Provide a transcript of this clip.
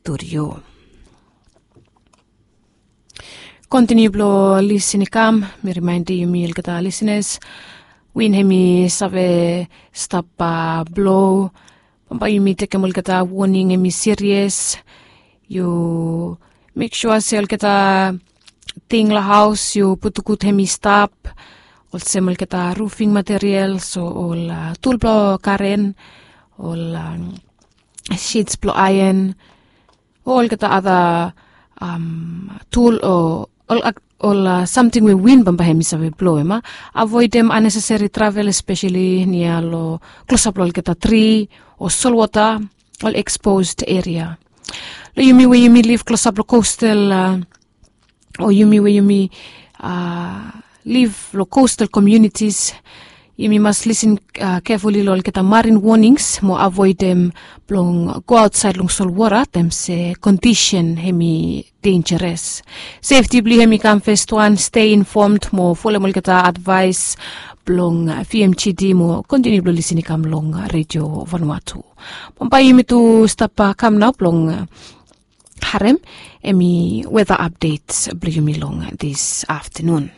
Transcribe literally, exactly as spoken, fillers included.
studio. Kontiniu blong lisin i kam, mi rimaindim yumi olgeta lisenas, win hem i save stap blo. Bambae yumi tekem olgeta woning hem i sirias. Yu mek sua se olgeta ting long haos yu putum gud hem i stap, olsem olgeta rufing material, so ol tul blong karen, ol shits blong aen, o olgeta ada tul o ol samting we win bambae hem i save blo, em a avoedem aneseseri travel, espeseli nia long klosap long olgeta tri o solwota, ol eksposed eria. Long yumi we yumi liv klosap long kostal, o yumi we yumi liv long kostal komiunitis, yumi mas lisin kefuli long olgeta marin wonings mo avoedem blong go aotsaed long solwota taem se kondisen hem i denjaras. Sefti blong yu hem i kam fes wan, stei infomd mo folem olgeta advaes blong vmgd mo kontiniu blong lisin i kam long redio vanua tu. Bambae yumi tu stap kam nao blong harem hem i weta apdet blong yumi long dis aftanun.